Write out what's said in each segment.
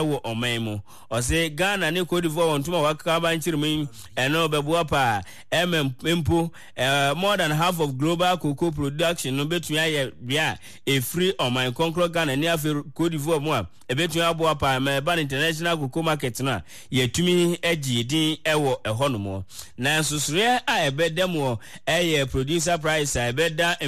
wɔ ɔman mu. Ɔse Ghana ne Cote d'Ivoire wɔn ntoma wakeka aba nkyere mu yi, ɛno bɛboa paa ɛma mpo more than half of global cocoa production no bɛtumi ayɛ bea a ɛfiri ɔman kɔnkorɔ Ghana ne afei Cote d'Ivoire mu a ɛbɛtumi aboa paa ma ɛba no international cocoa market no a yɛtumi agye din wɔ ɛhɔ nom. Na nsosoreɛ a ɛbɛda mu ɛyɛ producer price a ɛbɛda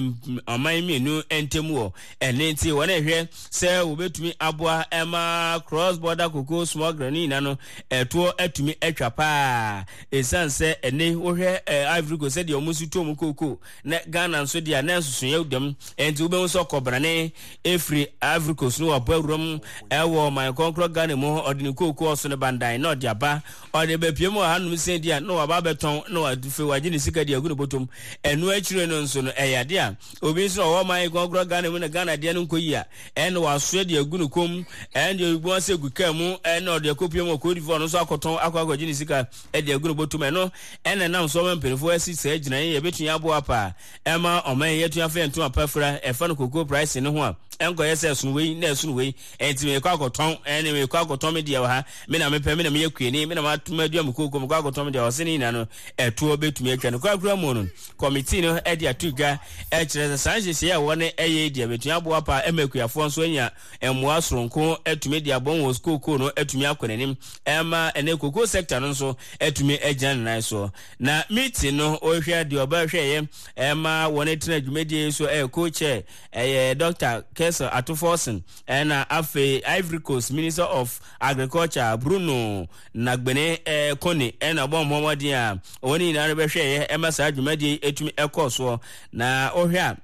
ɔman mmienu ntam wɔ Ɛno nti wɔrehwɛ sɛ wɔbɛtumi aboa ma cross border cocoa smuggling no nyinaa no ɛtoɔ atumi atwa paa. Ɛsiane sɛ ɛnɛ wohwɛ Ivory Coast sɛdeɛ wɔn nso tu wɔn cocoa na Ghana nso deɛ na nsosoeɛ dam. Ɛnti wobɛhu sɛ ɔkɔbrane ɛfiri Ivory Coast no wabɔ awuram ɛwɔ ɔman kɔnkorɔ Ghana mu ɔde ne cocoa ɔso ne bandan na ɔde aba ɔde bɛpie mu wɔ hanom sɛ di a na waba abɛtɔn na wafei wagye ne sika de agu ne bɔtɔm. Ɛno akyire no nso no ɛyɛ adeɛ a Obi nso na ɔwɔ ɔman kɔnkɔn Ghana mu na Ghana deɛ no nkɔ yie a, ɛna wasoɛ de agu ne kɔn mu, ɛna deɛ obi ase agu kaa mu, ɛna ɔde akɔpue mu wɔ Cote d'Ivoire no nso akɔtɔn akɔ akɔgye ne sika de agu ne bɔtɔ mu. Ɛno ɛna ɛnam so ama mpanimfoɔ asi saa gyinaeɛ yi ɛbɛtumi aboa paa ɛma ɔman yi atumi afa yɛn ntoma pa afira ɛfa no cocoa price no ho a ɛnkɔyɛ sɛ ɛsono wei na ɛsono wei ɛnti mekɔ akɔtɔn ɛne mekɔ akɔtɔn me deɛ wɔ ha me na mepɛ me na meyɛ kuani me na madua me kooko mekɔ akɔtɔn me deɛ ɔse ne nyinaa no ɛtoɔ bɛtumi atwa no korakora mu no Kɔmitii no de ato dwa kyerɛ sɛ saa nhyehyɛe a wɔn yɛ yi deɛ bɛtumi aboa paa ma akuafoɔ nso anya mmoa soronko atumi de abɔ wɔn kookoo no atumi akɔ n'anim ɛma ɛnɛ kookoo sector no nso atumi agyina ne nan soɔ. Na meeting no wɔhwɛ deɛ ɔbɛhwɛeɛ ɛma wɔn tena dwumadie yi so ɛyɛ co-chair ɛyɛ Dr. Kessel Ato Forson ɛna afei Ivory Coast Minister of Agriculture Bruno Nagbene eh, Kone na ɔbɔ wɔn mmɔden a wɔn nyinaa no bɛhwɛeɛ ɛma saa dwumadie yi ɛtumi ɛkɔɔ soɔ. Na wohwɛ a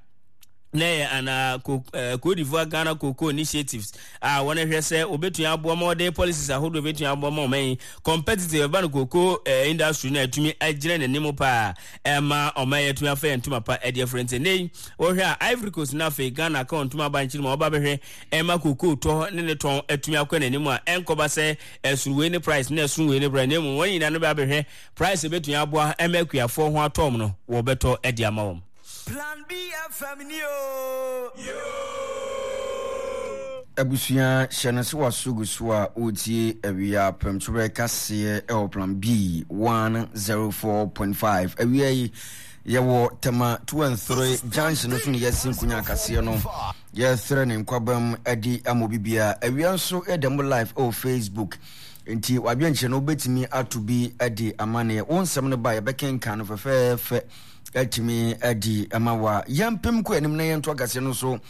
na ɛyɛ ana Cote d'Ivoire Ghana Cocoa Initiatives a wɔn hwɛ sɛ wɔbɛtumi aboa ma wɔde policies ahodoɔ bɛtumi aboa ma ɔman yi competitive ɛba no cocoa industry no atumi agyina n'anim paa ɛma ɔman yi atumi afa yɛn ntoma pa ɛde afiri nti nnɛ yi wɔhwɛ a Ivory Coast na afei Ghana ka wɔn ntoma aba nkyiri ma wɔba bɛhwɛ ɛma cocoa tɔ ne ne tɔn atumi akɔ n'anim a ɛnkɔba sɛ ɛsono wei ne price na ɛsono wei ne price na mmom wɔn nyinaa no bɛ abɛhwɛ price ebetumi aboa ɛma akuafoɔ ho atɔ wɔn no wɔbɛtɔ ɛde ama wɔn. Plan B FM ni oo. Abusua hyɛ no sɛ waso gu so a ɔretie awia prɛmtoberɛ kaseɛ ɛwɔ Plan B 104.5 awia yi yɛwɔ Tema 2 and 3 junction no so ne yɛasi nkonya kaseɛ no Yɛsrɛ ne nkwabam adi ama obi biara. Awia nso yɛda mu live ɛwɔ Facebook. Nti wadwenkyerɛ no wobɛtumi ato bi adi amaneɛ. Wo nsɛm no ba yɛbɛkenkan no fɛfɛɛfɛ atumi adi ama wa. Yɛmpem kɔ anim na yɛnto akaseɛ no so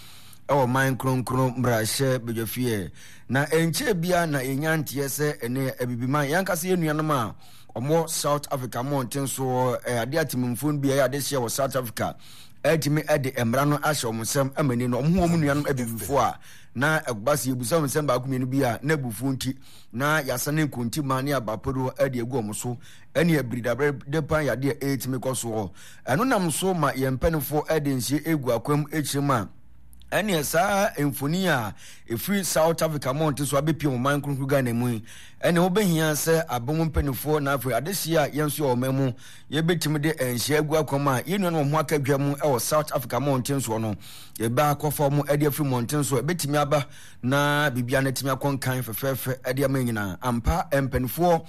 ɛwɔ man kronkron mmarahyɛ badwafie. Na ɛnkyɛɛ bia na yɛnya nteɛ sɛ ɛne abibiman yɛn ankasa yɛn nuanom a wɔwɔ South Africa mmɔnten so adeɛ atemmufoɔ no bi ɛyɛ adehyeɛ wɔ South Africa atumi de mmara no ahyɛ wɔn nsam ama ni no, wɔn ho wɔn nuanom abibifoɔ a na ɛba sɛ yɛbusa wɔn nsɛm baako mmienu bi a na abufuo nti na yɛasane nkontimma ne abapodoɔ de agu wɔn so ɛne abiridabrɛ de pan yadeɛ a ɛretumi kɔ soɔ. Ɛno nam so ma yɛn mpanimfoɔ de nsie egu akwam akyire mu a ɛneɛ saa mfoni a ɛfiri South Africa mmɔnten so abɛpie wɔn man kronkron Ghana mu yi ɛne wobɛhia sɛ abɛn mpanimfoɔ na afei adehyeɛ a yɛn nso yɛ ɔman mu Yɛbɛtumi de nhyɛ agu akwan a yɛn nuanom wɔn ho aka dwa mu wɔ South Africa mmɔnten soɔ no. Yɛbɛ akɔfa wɔn de afiri mmɔnten so. Ɛbɛtumi aba na biribiara no atumi akɔ nkan fɛfɛɛfɛ de ama nyinaa. Ampa, mpanimfoɔ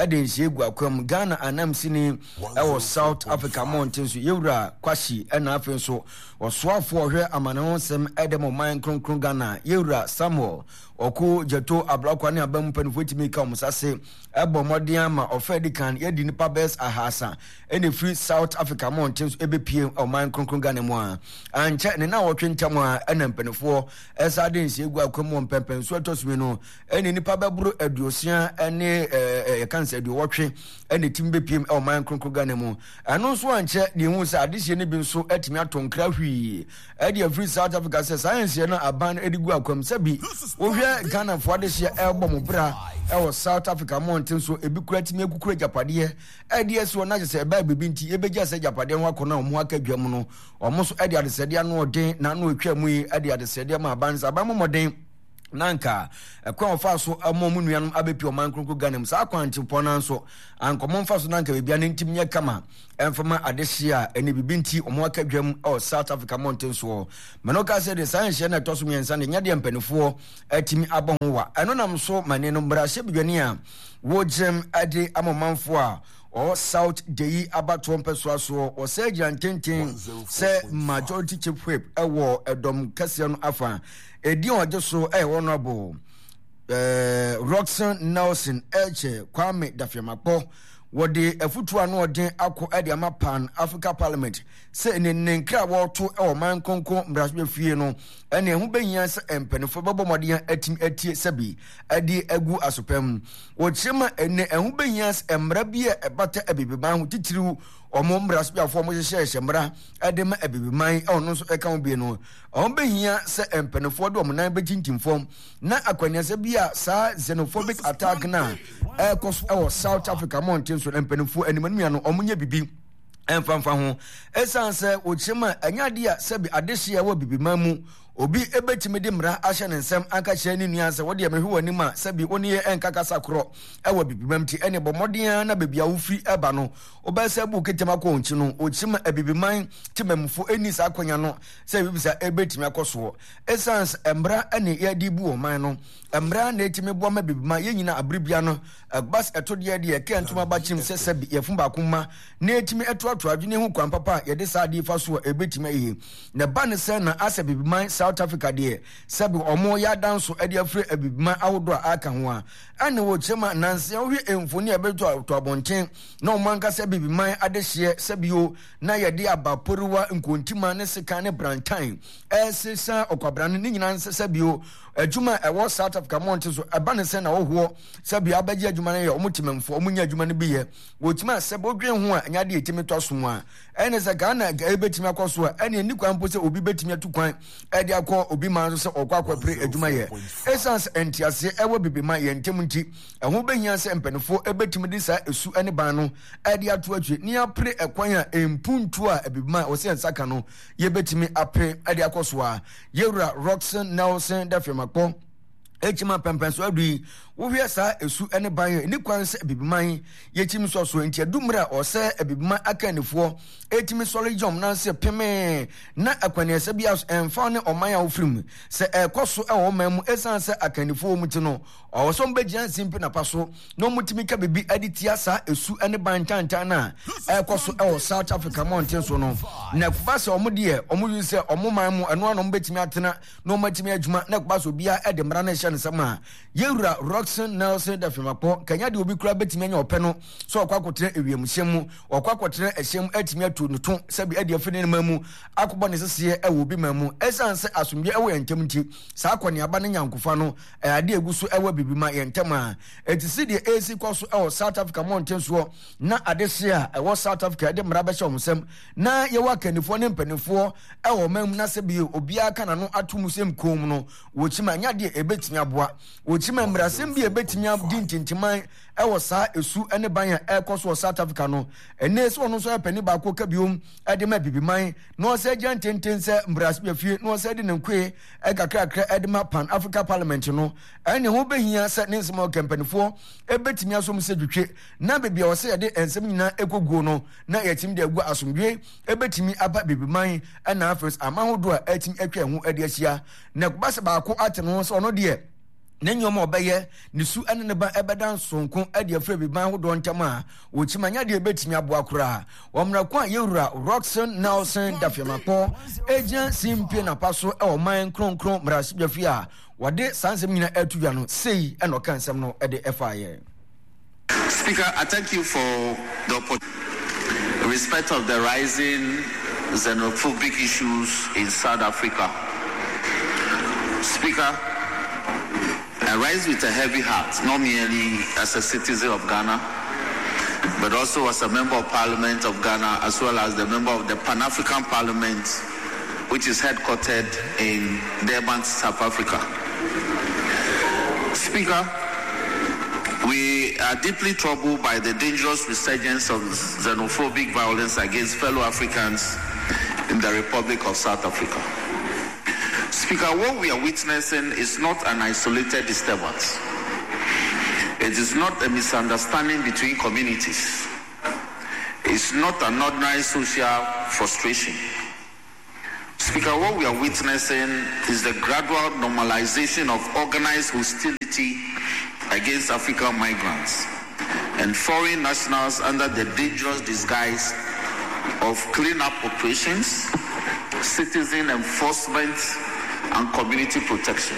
de nhyɛ agu akwan mu. Ghana anamsini wɔ South Africa mmɔnten so, Yɛwura Kwasi, ɛna afei nso ɔsoafoɔ ɔhwɛ amane ho nsɛm de ma ɔman kronkron Ghana, Yɛwura Samuel Ɔko Gyato Ablakwa ne aban mu mpanimfoɔ tumi ka wɔn nsa ase bɔ mmɔden ama ɔfa adi kan yɛde nnipa bɛyɛ ahasa na ɛfiri South Africa mmɔnten so ɛbɛpue ɔman kronkron Ghana mu a ankyɛ ne nnawɔtwe ntam a ɛna mpanimfoɔ ɛsa de nhyɛ gu akwan mu wɔ mpɛmpɛnsoɔ ɛtɔ so mmienu ɛne nnipa bɛboro aduosia ne yɛka nsɛ aduowɔtwe ɛna ɛtumi bɛpue ɔman kronkron Ghana mu. Ɛno nso ankyɛ deɛ ɛhu sɛ adehyeɛ no bi nso atumi atɔ nkra hwii ɛde afiri South Africa sɛ saa nhyɛ no aban no de gu akwam sɛ bi wohwɛ Ghanafoɔ adehyeɛ ɛrebɔ mo bra ɛwɔ South Africa mmɔnten so ebi kura tumi akukura agyapadeɛ ɛde asi hɔ na kyɛ sɛ ɛbaa biribi nti yɛbɛgya sɛ agyapadeɛ ho akɔ no a wɔn aka dwa mu no wɔn nso ɛde adesrɛdeɛ ano ɔden na ano atwa mu yi ɛde adesrɛdeɛ ma aban sɛ aban mmɔden. Na anka ɛkwan a wɔfaa so ma wɔn nuanom abɛpie ɔman kronkron Ghana mu saa kwantempɔn no nso anka wɔn mfa so na anka biribiara no ntim nyɛ kama ɛmfa ma adehye a ɛne biribi nti wɔn aka dwam wɔ South Africa mmɔnten soɔ. Mano ka sɛ de saa nhyɛ no ɛtɔ so mmiɛnsa no nyɛ deɛ mpanimfoɔ atumi abɔ ho wa. Ɛno nam so ma ne no mmarahyɛbadwani a wɔgyinam de ama ɔmanfoɔ a ɔwɔ South Dayi abatoɔ mpɛsoa soɔ wɔsɛ gyina ntenten sɛ majority chief whip ɛwɔ ɛdɔm kɛseɛ no afa. Edin a ɔgye so yɛ Honourable eh, Rockson Nelson Elche Kwame Dafiamakpɔ. Wɔde afutuo ano ɔden akɔ de ama Pan Africa Parliament sɛ ne ne nkra a wɔreto wɔ ɔman kronkron mmarahyɛbadwafie no ɛne ɛho bɛhia sɛ mpanimfoɔ bɛbɔ mmɔden atumi atie sɛbi de agu asopam. Wɔkyerɛ ma ɛnɛ ɛho bɛhia sɛ mmara bi a ɛbata abibiman ho titiriw wɔn mmarahyɛbadwafoɔ wɔn hyehyɛhyɛ mmara de ma abibiman ɔno nso ɛka ho bi no Ɛho behia sɛ mpanimfoɔ de wɔn nan bɛtintim fam na akwannuasa bi a saa xenophobic attack no a ɛrekɔ so wɔ South Africa mmɔnten so no mpanimfoɔ anim anim no wɔnyɛ biribi mfamfa ho. Ɛsiane sɛ wɔkyerɛ mu a ɛnyɛ adeɛ a sɛbi adehyeɛ wɔ bibiman mu obi bɛtumi de mmara ahyɛ ne nsam aka kyerɛ ne nua sɛ wodeɛ mehwɛ w'anim a sɛbi wo ne yɛ ɛnka kasa korɔ ɛwɔ bibimam nti ɛne bɔ mmɔden ara na baabi a wofiri ɛba no wobɛsɛ bu ketem akɔ wɔn akyi no wɔkyerɛ mu abibiman temamufo ɛnni saa akwanya no sɛ biribi ebetumi akɔ soɔ. Esiane sɛ mmara ne yɛde bu ɔman no, mmara na etumi boa ma biribi ma yɛn nyinaa abere bia no, ɛba sɛ ɛto deɛ deɛ ɛkɛ ntoma ba kyim sɛ sɛbi yɛfun baako mma na etumi ɛtoatoa adwene ho kwan papa a yɛde saa adeɛ fa so a ebetumi ayie. Na ɛba ne sɛ na asɛ bibiman South Africa deɛ sɛbi wɔn yɛ adanso ɛde afiri abibiman ahodoɔ a aka ho a ɛne wɔ kyerɛ ma nansa wohwɛ mfoni a ɛbɛtɔ abɔnten na wɔn ankasa bibiman adehyeɛ sɛbi o na yɛde aba poriwa, nkontima ne sekan ne brantan resesa ɔkwabran no, ne nyinaa nsɛ sɛ bio adwuma a ɛwɔ South Africa mmɔnten so ɛba ne sɛ na wɔhoɔ sɛ bio abɛgye adwuma no yɛ wɔn temamfoɔ wɔn nya adwuma no bi yɛ wɔtumi a sɛ bodwen ho a ɛnyɛ adeɛ ɛtumi tɔ aso mu a ɛne sɛ Ghana ɛbɛtumi akɔ so a ɛne ɛni kwan mpo sɛ obi bɛtumi atu kwan ɛde akɔ obi man so sɛ ɔkɔ akɔpere adwuma yɛ ɛsiane sɛ nteaseɛ ɛwɔ bibi ma yɛn ntam nti ɛho bɛhia sɛ mpanimfoɔ ɛbɛtumi de saa esu ne ban no de ato akyire na yɛapere ɛkwan a mpuntuo a Abibiman a wɔsɛ yɛn nsa ka no yɛbɛtumi apere de akɔ so a yɛwura Rockson Nelson Dafiamakpɔ ɛkyima pɛmpɛn so adu yi wohwɛ saa esu ne ban a ɛni kwan sɛ Abibiman yɛkyim sɔ so nti adu mmerɛ a ɔsɛ Abibiman akannifoɔ ɛtumi sɔre gyɔm nanse pemee na akwaniasa bi aso ɛmfa ne ɔman a wofiri mu sɛ ɛkɔ so ɛwɔ ɔman mu ɛsiane sɛ akannifoɔ wɔ mu ti no Ɔwɔ sɛ wɔbɛgyina nsimpe napa so na wɔtumi ka biribi de tia saa esu ne ban ntantan no a ɛrekɔ so wɔ South Africa mmɔnten so no. Na ɛkɔba sɛ wɔn deɛ wɔn yi sɛ wɔn man mu ɛno ano wɔbɛtumi atena na wɔatumi adwuma na ɛkɔba sɛ obiara de mmara no hyɛ ne nsam a yɛwura Rockson Nelson Dafimakpɔ kanya deɛ obi koraa bɛtumi anya ɔpɛ no sɛ ɔkɔ akɔtena ewiemhyɛn mu ɔkɔ akɔtena ɛhyɛn mu atumi atu ne to sɛbi ɛde afiri ne man mu akɔbɔ ne seseɛ ɛwɔ obi man mu ɛsiane sɛ asomdwe ɛwɔ yɛn ntam nti saa akɔneaba ne nyankofa no Ɛyɛ ade a egu so wɔ biribi ma yɛn ntɛm a. Enti sɛdeɛ ɛresi kɔ so wɔ South Africa mmɔnten soɔ na adehyeɛ a ɛwɔ South Africa de mmara bɛhyɛ wɔn nsam na yɛwɔ akannifoɔ ne mpanimfoɔ wɔ ɔman mu na sɛ bio obiara ka n'ano ato mu sɛ nkoom no wɔkyim a ɛnyɛ adeɛ a ɛbɛtumi aboa. Wɔkyim a mmarasɛm bi a ɛbɛtumi adi ntintiman wɔ saa esu ne ban a ɛrekɔ so wɔ South Africa no. Ɛnnɛ sɛ ɔno nso yɛ panin baako ka biom de ma Abibiman na ɔsɛ gyina ntenten sɛ mmarahyɛbadwafie na ɔsɛ de ne nkoe kakrakra de ma Pan Africa Parliament no, ɛne ho bɛhia sɛ ne nsɛm a ɔka mpanimfoɔ bɛtumi asom sɛ dwetwe na baabi a ɔsɛ yɛde nsɛm nyinaa ɛkɔguo no na yɛatumi de agu asomdwe ɛbɛtumi aba Abibiman ɛna afei aman ahodoɔ a ɛtumi atwa ɛho de ahyia na ɛkɔba sɛ baako ate ne ho sɛ ɔno deɛ ne nneɛma a ɔbɛyɛ ne su ne ne ba ɛbɛda nsonko de afiri abiban ahodoɔ ntam a wɔkyim anya deɛ ɛbɛtumi aboa koraa wɔ mmerɛ ko a yɛwura Rockson Nelson Dafiamakpɔ ɛgyina simpie napa so ɛwɔ man kronkron mmarahyɛbadwafie a wɔde saa nsɛm nyina ɛto dwa no sei ɛna ɔka nsɛm no ɛde ɛfaeɛ. Speaker, I thank you for the opportunity. Respect of the rising xenophobic issues in South Africa. Speaker, I rise with a heavy heart, not merely as a citizen of Ghana, but also as a member of parliament of Ghana, as well as the member of the Pan-African Parliament, which is headquartered in Durban, South Africa. Speaker, we are deeply troubled by the dangerous resurgence of xenophobic violence against fellow Africans in the Republic of South Africa. Speaker, what we are witnessing is not an isolated disturbance. It is not a misunderstanding between communities. It's not an ordinary social frustration. Speaker, what we are witnessing is the gradual normalization of organized hostility against African migrants and foreign nationals under the dangerous disguise of cleanup operations, citizen enforcement, and community protection.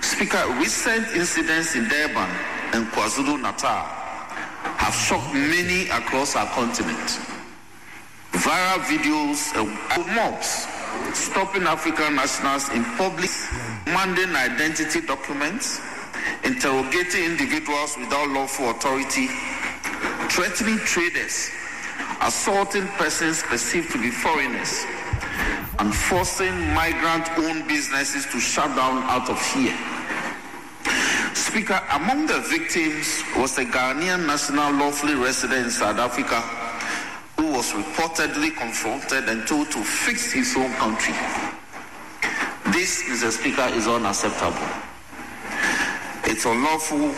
Speaker, recent incidents in Durban and KwaZulu Natal have shocked many across our continent. Viral videos of mobs stopping African nationals in public, demanding identity documents, interrogating individuals without lawful authority, threatening traders, assaulting persons perceived to be foreigners, and forcing migrant owned businesses to shut down out of fear. Speaker, among the victims was a Ghanaian national lawfully resident in South Africa who was reportedly confronted and told to fix his own country. This, Mr. Speaker, is unacceptable. It's unlawful.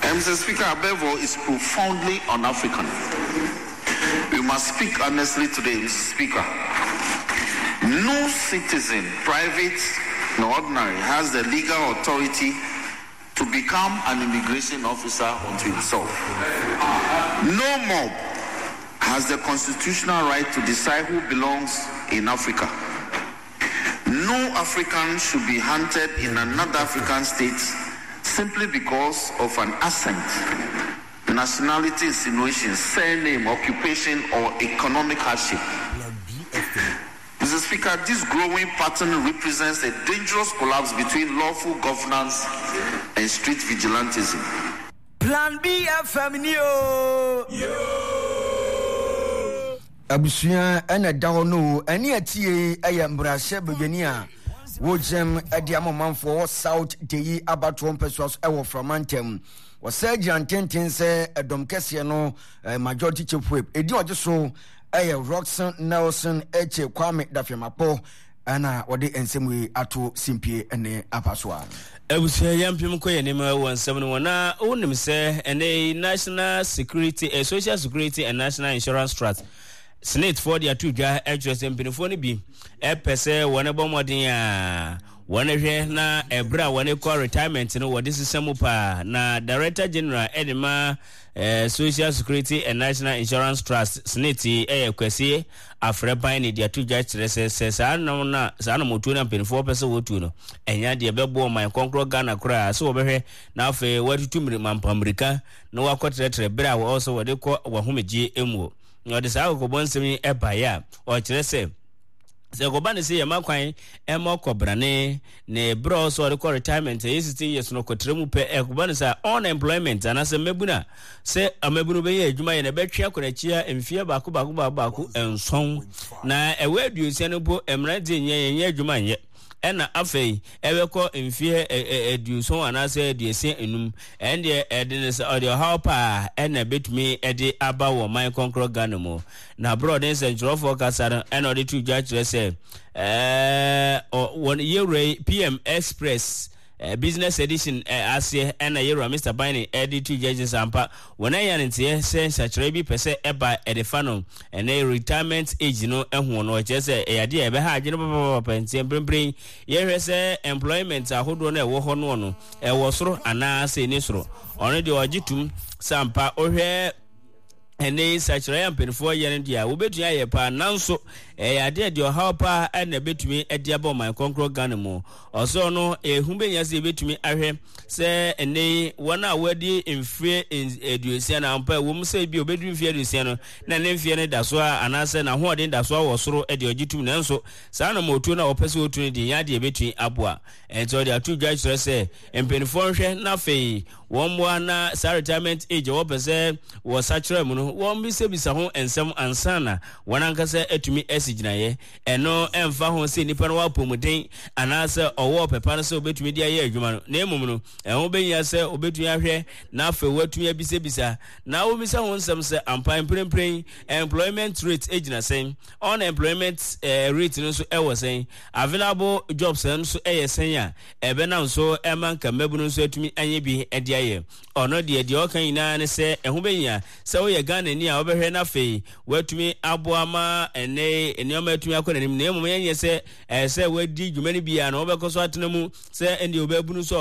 And Mr. Speaker, above all, is profoundly un African. We must speak honestly today, Mr. Speaker. No citizen, private nor ordinary, has the legal authority to become an immigration officer unto himself. No mob has the constitutional right to decide who belongs in Africa. No African should be hunted in another African state simply because of an accent, nationality insinuation, surname, occupation, or economic hardship. Mr. Speaker, this growing pattern represents a dangerous collapse between lawful governance and street vigilantism. Plan B FM ni o. Abusua na ɛda hɔ no o. Ɛne atie yɛ mmarahyɛ badwani a wogyam de ama ɔmanfoɔ wɔ South Deyi abatoɔ mpɛsoa so wɔ Frama ntam. Wɔsɛ gyina ntenten sɛ ɛdɔm kɛseɛ no eh, majority chief whip. Ɛdi ɔgye so ɛyɛ Rockson Nelson Eche Kwame Dafiamakpɔ ɛna wɔde nsɛm wei ato simpie ne apa so a. Abusua yɛmpem kɔ yɛn anim wɔ nsɛm no mu na wonim sɛ ɛnɛ yi National Security eh, Social Security and National Insurance Trust SSNIT foɔ de ato dwa kyerɛ sɛ mpanimfoɔ no bi ɛpɛ sɛ wɔn bɔ mmɔden a wɔn hwɛ na ɛberɛ a wɔn kɔ retirement no wɔde sesa mu paa na Director General ɛde ma eh, Social Security and National Insurance Trust SSNIT ɛyɛ Kwasi Afrɛpan ne de ato dwa kyerɛ sɛ sɛ saa nam na saa anammɔtuo no a mpanimfoɔ pɛ sɛ wɔtuo no ɛnyɛ adeɛ ɛbɛboa ɔman kɔnkorɔ Ghana koraa sɛ wɔbɛhwɛ na afei wɔatutu mampa mmirika na wɔakɔtrɛtrɛ berɛ a wɔwɔ sɛ wɔde kɔ wɔahomegyeɛ mu. Na ɔde saa kɔkɔbɔ nsɛm yi ɛbaeɛ a ɔkyerɛ sɛ sɛ ɛkɔba ne sɛ yɛma kwan ɛma ɔkɔbrane ne berɛ a ɔsɛ ɔde kɔ retirement ɛyɛ 16 years no kɔtra mu pɛ ɛkɔba ne sɛ unemployment anaasɛ mmabunu a sɛ mmabunu bɛyɛ adwuma yɛ na ɛbɛtwe akɔ n'akyi a mfeɛ baako baako baako baako nson na ɛwɔ aduosia no mpo mmeranteɛ nyɛ yɛnyɛ adwuma nyɛ ɛna afei ɛbɛkɔ mfeɛ aduoson anaasɛ aduosia enum ɛndeɛ ɛde ne sɛ ɔde ɔhaw paa ɛna ɛbɛtumi ɛde aba wɔ man kɔnkorɔ Ghana mu na berɛ ɔde nsɛnkyerɛwfoɔ kasa no ɛna ɔde to dwa kyerɛ sɛ ɛɛ wɔn yɛwura yi PM Express Business Edition aseɛ ɛna yɛwura Mr. Biden ɛde to dwa kyerɛ sɛ ampa wɔn anya ne nteɛ sɛ nsakyerɛ bi pɛ sɛ ɛba ɛde fa no ɛnɛ retirement age no ɛho no ɔkyerɛ sɛ ɛyɛ adeɛ a ɛbɛha adwene papapapa nti mprempren yɛhwɛ sɛ employment ahodoɔ no ɛwɔ hɔ noɔ no ɛwɔ soro anaasɛ ɛni soro ɔno deɛ ɔgye tum sɛ ampa wohwɛ ɛnɛ yi nsakyerɛ a mpanimfoɔ yɛ no deɛ a wobɛtumi ayɛ paa nanso ɛyɛ adeɛ deɛ ɔhaw paa ɛna ɛbɛtumi de aba ɔman kɔnkorɔ Ghana mu ɔsɛ ɔno ehu bɛnya sɛ yɛbɛtumi ahwɛ sɛ ɛnɛ yi wɔn a wɔadi mfeɛ aduosia na ampa ɛwɔ mu sɛ bi obɛduru mfeɛ aduosia no na ne mfeɛ no da so a anaasɛ n'ahoɔden da so a wɔ soro deɛ ɔgye tum nanso saa na mɔtuo no a wɔpɛ sɛ wɔtu no deɛ nyɛ adeɛ ɛbɛtumi aboa ɛnti ɔde ato dwa kyerɛ sɛ mpanimfoɔ nhwɛ na afei wɔn mmoa na saa retirement age a wɔpɛ sɛ wɔsakyerɛ mu no. no, wɔmmisabisa ho nsɛm ansa na wɔn ankasa atumi asi gyinaeɛ. Ɛno mfa ho sɛ nipa no wɔ apɔmuden anaasɛ ɔwɔ ɔpɛ pa no sɛ obetumi de ayɛ adwuma no, na mmom no, ɛho behia sɛ obetumi ahwɛ na afei watumi abisabisa na wɔmmisa ho nsɛm sɛ ampa mprempren employment rate gyina sɛn, unemployment rate no nso wɔ sɛn, available jobs nso yɛ sɛn a ɛbɛnam so ma nka mmabunu nso atumi anya bi de ayɛ. Ɔno deɛ, deɛ ɔka nyinaa ne sɛ ɛho bɛhia sɛ woyɛ Ghanani a wobɛhwɛ na afei woatumi aboa ma ɛnnɛ yi nneɛma atumi akɔ n'anim, na mmom ɛnyɛ sɛ ɛsɛ sɛ woadi dwuma no bi a na wobɛkɔ so atena mu sɛ ɛndeɛ wobɛbunu so a.